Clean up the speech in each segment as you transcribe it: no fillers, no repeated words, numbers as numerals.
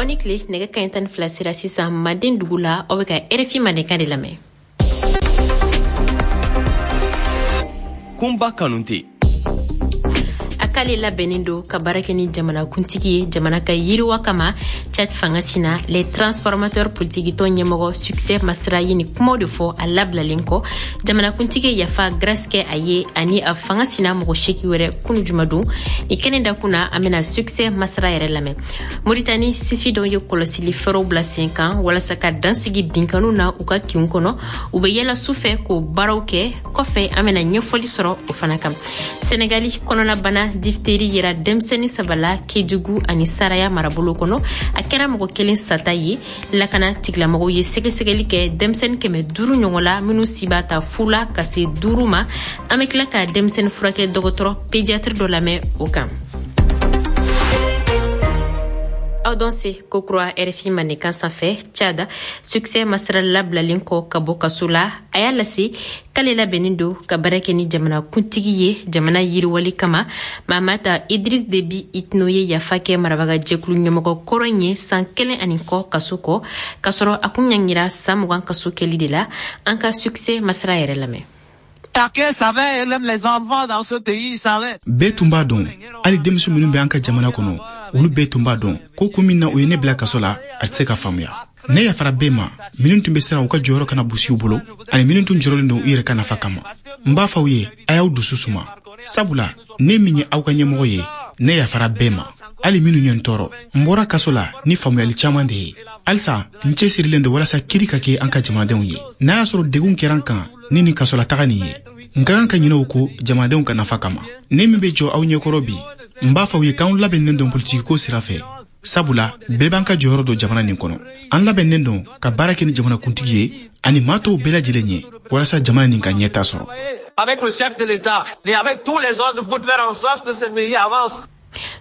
Aw ni tile. Nɛgɛ kaɲɛ 12 sera sisan Manden dugu la. Aw bɛ ka RFI Mandenkan de lamɛn. Kunba Kanute. A k'ale labɛnnen don ka baara kɛ ni jamanakuntigi ye jamana ka yiriwa kama. Tchad fanga sina, les transformateurs politikitɔn ɲɛmɔgɔ Succès Masra ye nin kumaw de fɔ a labilalen kɔ. Jamanakuntigi ye yafa grâce kɛ a ye ani a fanga sina mɔgɔ 8 wɛrɛ kunu jumadon. Ni kɛnɛ dakun na, an bɛna Succès Masra yɛrɛ lamɛn. Moritani sifi dɔw ye kɔlɔsili fɛɛrɛw bila sen kan walasa ka dansigi binkaniw na u ka kinw kɔnɔ. U bɛ yala su fɛ k'o baaraw kɛ. Kɔfɛ, an bɛna ɲɛfɔli sɔrɔ o fana kan. Senegali, kɔnɔnabana diphtérie yera denmisɛnnin saba la Kedugu ani Saraya marabolo kɔnɔ. A kɛra mɔgɔ kelen sata ye. Lakana tigilamɔgɔw ye sɛgɛsɛgɛli kɛ denmisɛnnin 500 ɲɔgɔn la minnu si b'a ta fu la ka se 5 ma. An bɛ tila ka denmisɛnnin furakɛ dɔgɔtɔrɔ pédiatre dɔ lamɛn o kan. Aw dɔn se kokura RFI Mandenkan sanfɛ. Tchad, Succès Masra labilalen kɔ ka bɔ kaso la, a y'a lase k'ale labɛnnen don ka baara kɛ ni jamana kuntigi ye jamana yiriwali kama. Mahamat Idriss Déby Itno ye yafa kɛ marabaga jɛkulu ɲɛmɔgɔ kɔrɔ in ye san kelen ani kɔ kaso kɔ, k'a sɔrɔ a kun ɲangira san 20 kaso kɛli de la. An ka Succès Masra yɛrɛ lamɛn. Bɛɛ tun b'a dɔn, hali denmuso minnu bɛ an ka jamana kɔnɔ, olu bɛɛ tun b'a dɔn ko kun min na u ye ne bila kaso la, a tɛ se ka faamuya. Ne yafara bɛɛ ma, minnu tun bɛ siran u ka jɔyɔrɔ kana busi u bolo ani minnu tun jɔrɔlen don u yɛrɛ ka nafa kama. N b'a fɔ aw ye, a y'aw dusu suma, sabula ne min ye aw ka ɲɛmɔgɔ ye, ne yafara bɛɛ ma, hali minnu ye n tɔɔrɔ. N bɔra kaso la ni faamuyali caman de ye. Halisa n cɛsirilen don walasa kiri ka kɛ an ka jamanadenw ye. N'a y'a sɔrɔ degun kɛra n kan ni nin kasolataga nin ye, n ka kan ka ɲinɛ o ko jamanadenw ka nafa kama. Ne min bɛ jɔ aw ɲɛkɔrɔ bi, n b'a fɔ aw ye k'anw labɛnnen don politikiko sira fɛ, sabula bɛɛ b'an ka jɔyɔrɔ don jamana nin kɔnɔ. An labɛnnen don ka baara kɛ ni jamanakuntigi ye ani maa tɔw bɛɛ lajɛlen ye walasa jamana nin ka ɲɛta sɔrɔ. Avec le chef de l'État et avec tous les autres pour faire en sorte que ce pays avance.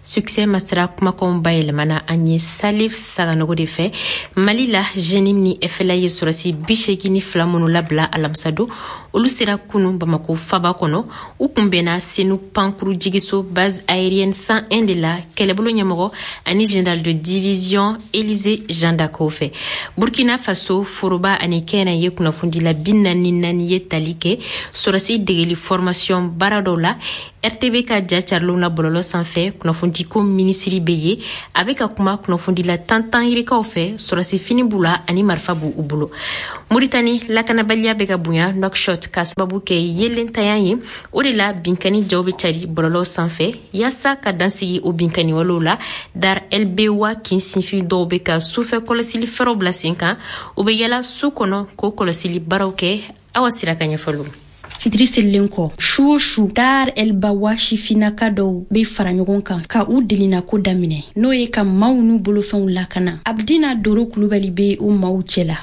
Succès Masra kumakanw bayɛlɛmana an ye Salif Saganogo de fɛ. Mali la, JNIM ni FLA ye sɔrɔsi 82 minnu labila alamisadon, olu sera kunu Bamako faba kɔnɔ. U kunbɛnna Senu pankuru jigiso base aérienne 101 de la, kɛlɛbolo ɲɛmɔgɔ ani général de division Élysée Jean Dacko fɛ. Burkina Faso, foroba ani kɛnɛ ye kunnafonidila 44 ye tali kɛ sɔrɔsi degeli formation baara dɔw la. RTB ka ja carilenw na bɔlɔlɔ sanfɛ, kunnafonidiko minisiri bɛ ye, a bɛ ka kuma kunnafonidila tan tan yirikaw fɛ. Sɔrɔsi fini b'u la ani marifa b'u u bolo. Moritani, lakanabaliya bɛ ka bonya Nouakchott ka sababu kɛ yelentanya ye. O de la binkani jaw bɛ cari bɔlɔlɔ sanfɛ. Yaasa ka dansigi o binkani walew la, Dar El Bewa kin sinfin dɔw bɛ ka sufɛ kɔlɔsili fɛɛrɛw bila sen kan. U bɛ yala su kɔnɔ k'o kɔlɔsili baaraw kɛ. Awa Sira ka ɲɛfɔliw. Fitiri selilen kɔ, su o su, Dar El Bawa sifinnaka dɔw be fara ɲɔgɔn kan ka u delinako daminɛ, n'o ye ka maaw n'u bolofɛnw lakana. Abdina Doro Kulubali be o maaw cɛla.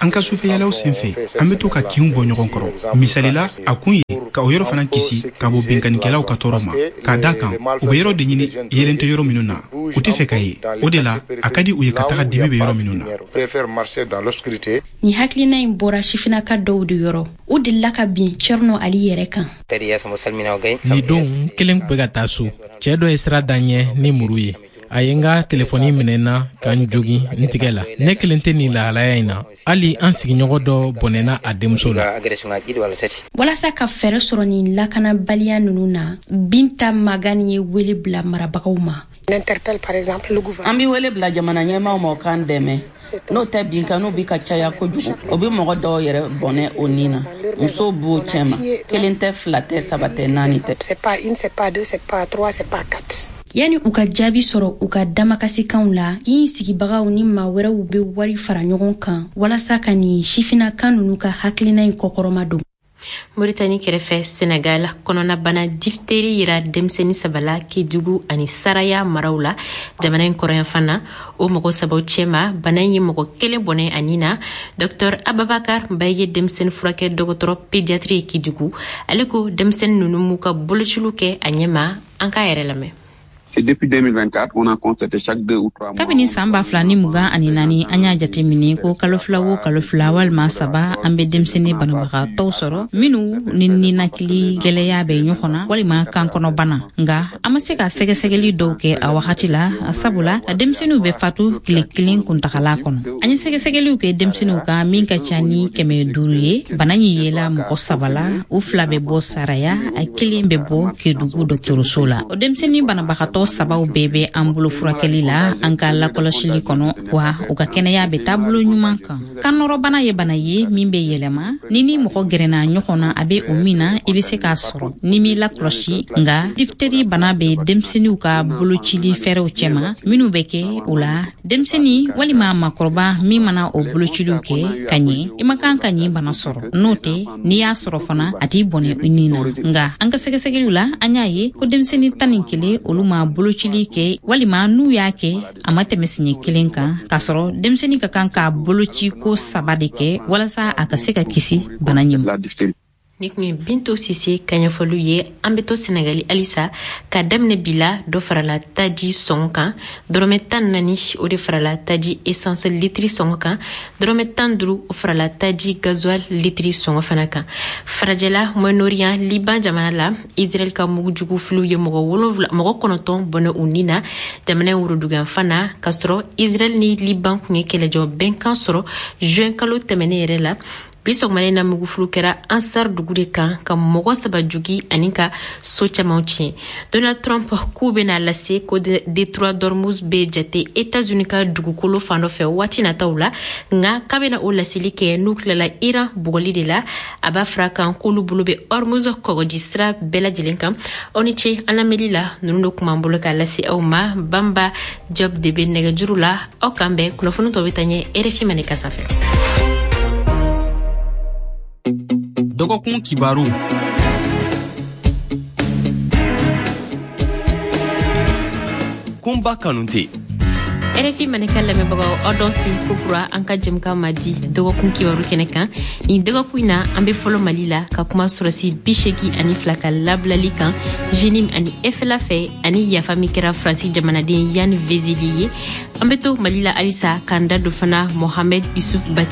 An ka sufɛyalaw senfɛ, an be to ka kinw bɔ ɲɔgɔn kɔrɔ. Misali la, a kun ye ka o yɔrɔ fana kisi ka bɔ binkannikɛlaw ka tɔɔrɔ ma, k'a da kan u bɛ yɔrɔ de ɲini yelen tɛ yɔrɔ minnu na, u tɛ fɛ ka ye. O de la a ka di u ye ka taga dimi bɛ yɔrɔ minnu na. Nin hakilina in bɔra sifinnaka dɔw de yɔrɔ. U delila ka bin Cɛrno Ali yɛrɛ kan. Nin don, n kelen tun bɛ ka taa so. Cɛɛ dɔ ye sira da ɲɛ ni muru ye. A ye n ka telefɔni minɛ n na ka n jogin n tigɛ la. Ne kelen tɛ nin lahalaya in na, hali an sigiɲɔgɔn dɔ bɔnɛna a denmuso la. Walasa ka fɛɛrɛ sɔrɔ nin lakanabaliya ninnu na, Binta Magani ye wele bila marabagaw ma. An bɛ wele bila jamana ɲɛmaaw ma, o k'an dɛmɛ. N'o tɛ, binkaniw bi ka caya kojugu. O bɛ mɔgɔ dɔw yɛrɛ bɔnɛ o nin na. Musow b'o cɛma, kelen tɛ, fila tɛ, saba tɛ, naani tɛ. Yanni u ka jaabi sɔrɔ u ka damakasikanw la, kin sigibagaw ni maa wɛrɛw bɛ wari fara ɲɔgɔn kan walasa ka nin sifinnakan ninnu ka hakilina in kɔkɔrɔma don. Moritani kɛrɛfɛ, Senegal, kɔnɔnabana diphtérie yira denmisɛnnin saba la Kedugu ani Saraya maraw la, jamana in kɔrɔyanfan na. O mɔgɔ sabaw cɛma, bana in ye mɔgɔ kelen bɔnɛ ani na. Dr Ababakar Mbaye ye denmisɛnnin furakɛ dɔgɔtɔrɔ pédiatre ye Kedugu. Ale ko denmisɛnnin ninnu m'u ka bolociliw kɛ a ɲɛma. An k'a yɛrɛ lamɛn. Depuis 2024, on a constaté chaque 2 ou 3 mois. Kabini san 2024, an y'a jateminɛ ko kalo 2 o kalo 2 walima 3, an bɛ denmisɛnnin banabagatɔw sɔrɔ minnu ni ninakili gwɛlɛya bɛ ɲɔgɔn na walima kankɔnɔbana. Nga an ma se ka sɛgɛsɛgɛli dɔw kɛ a wagati la, sabula denmisɛnninw bɛ fatu tile kelen kuntagala kɔnɔ. An ye sɛgɛsɛgɛliw kɛ denmisɛnninw kan min ka ca ni 500 ye. Bana ɲi yela mɔgɔ saba la, u fila bɛ bɔ Saraya, a kelen bɛ bɔ Kedugu dɔgɔtɔrɔso la. O denmisɛnnin banabagatɔ sabaw bɛɛ bɛ an bolo furakɛli la an ka lakɔlɔsili kɔnɔ, wa u ka kɛnɛya bɛ taabolo ɲuman kan. Kannɔrɔbana ye bana ye min bɛ yɛlɛma ni ni mɔgɔ gɛrɛna ɲɔgɔn na, a bɛ o min na, i bɛ se k'a sɔrɔ ni m'i lakɔlɔsi. Nga diphtérie bana bɛ denmisɛnninw ka bolocili fɛɛrɛw cɛma minnu bɛ kɛ o la. Denmisɛnnin walima makɔrɔba min mana o bolociliw kɛ ka ɲɛ, i man kan ka ɲin bana sɔrɔ. N'o tɛ, n'i y'a sɔrɔ fana, a t'i bɔnɛ i ni na. Nga an ka sɛgɛsɛgɛliw la, an y'a ye ko denmisɛnnin 11, olu ma bolocili kɛ, walima n'u y'a kɛ, a ma tɛmɛ siɲɛ kelen kan, k'a sɔrɔ denmisɛnnin ka kan ka boloci ko saba de kɛ walasa a ka se ka kisi bana ɲɛ ma. Ni kun ye Binto Sise ka ɲɛfɔliw ye. An be to Senegali halisa. Ka daminɛ bi la, dɔ farala taji sɔngɔ kan. Dɔrɔmɛ 14, o de farala taji essence litiri sɔngɔ kan. Dɔrɔmɛ 15, o farala taji gasoil litiri sɔngɔ fana kan. Farajɛla, Moyen-Orient, Liban jamana la, Israel ka mugujugu filiw ye mɔgɔ wolonwula, mɔgɔ kɔnɔntɔn bɔnɛ u ni na jamana in woroduguyanfan na, k'a sɔrɔ Israel ni Liban kun ye kɛlɛjɔ bɛnkan sɔrɔ juin kalo tɛmɛnen yɛrɛ la. Bi sɔgɔmada na, mugufuru kɛra Ansar dugu de kan, ka mɔgɔ saba jogi ani ka so camanw tiɲɛ. Donald Trump k'u bɛna lase ko détroit d'Ormuz bɛ jate Etats-Unis ka dugukolo fan dɔ fɛ waati nataw la, nka k'a bɛna o laseli kɛ n'u tilala Iran bugɔli de la. A b'a fara kan k'olu bolo bɛ Ormuz kɔgɔji sira bɛɛ lajɛlen kan. Aw ni ce an lamɛnli la. Ninnu de kun b'an bolo k'a lase aw ma. Banba Job de bɛ nɛgɛjuru la. Aw kan bɛn, kunnafoni tɔ bɛ taa ɲɛ RFI Maninka sanfɛ. Dɔgɔkun kibaru. Kunba Kanute. RFI Maninka lamɛnbagaw, aw dɔn si kokura an ka jɛmukan ma di dɔgɔkun kibaru kɛnɛ kan. Nin dɔgɔkun in na, an be fɔlɔ Mali la, ka kuma sɔrɔsi 82 ka labilali kan JNIM ani FLA fɛ, ani yafa min kɛra Faransi jamanaden Yann Vezilier ye. An be to Mali la halisa, k'an da don fana Mohamed Yusuf Bati.